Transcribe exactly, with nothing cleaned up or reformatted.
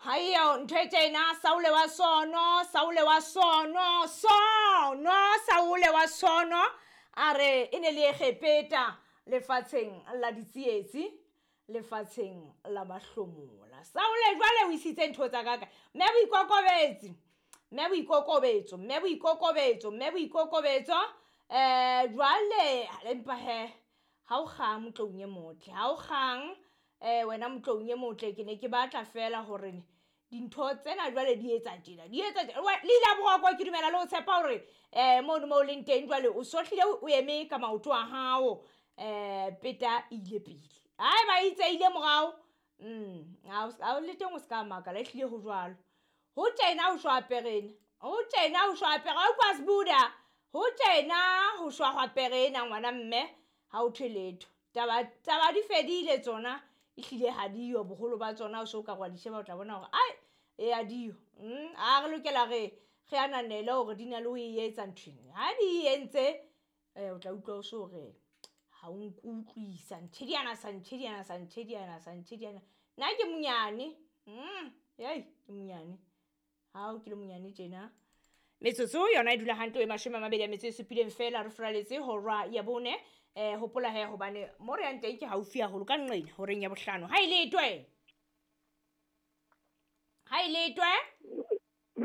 Hayo ntho e tjena, Saule wa sono, Saule wa sono, sono, Saule wa sono, a re e ne le Egepeta lefatsheng la ditsietsi, lefatsheng la mahlomola. Saule jwale o isitse ntho tsa ka kae? Mme boikokobetsi, mme boikokobetso, mme boikokobetso, mme boikokobetso. Eh jwale empa he ha o kgang motloung e motle, ha o kgang eh wena motloung e motle, ke ne ke batla fela hore dintho tsena jwale di etsa tjena, di etsa tjena. Le ile boroko ke dumela le ho tshepa hore eh mono mo leng teng jwale o sohlile o eme ka maoto a hao, eh peta e ile pele. Haeba e itse ile morao, mm ha o le teng o ska makala, ehlile ho jwalo. Ho tjena ho shwa perena, ho tjena ho shwa pere, ha utlwa Sbuda, ho tjena ho shwa hwa pere ena ngwana mme, ha o thwe letho. Taba taba di fedile tsona, ehlile ha diyo boholo ba tsona, o so ka wa di sheba o tla bona hore ai e a diyo. Mm a re lokela re re ananele hore di na le ho e etsa nthwena. Ha di entse eh o tla utlwa o so re ha o nkutlwisa ntjhediana sa ntjhediana sa ntjhediana sa ntjhediana. Nna ke monyane. Mm hey ke monyane. Ha o ke le monyane tjena. Metsotso yona e dula hantle e mashome a mabedi a metso e supileng fela, re furaletse hora ya bone. Eh hopola he hobane mo re yang teng ke haufi haholo ka nqena horeng ya bohlano. Ha e letwe. Ha e letwe.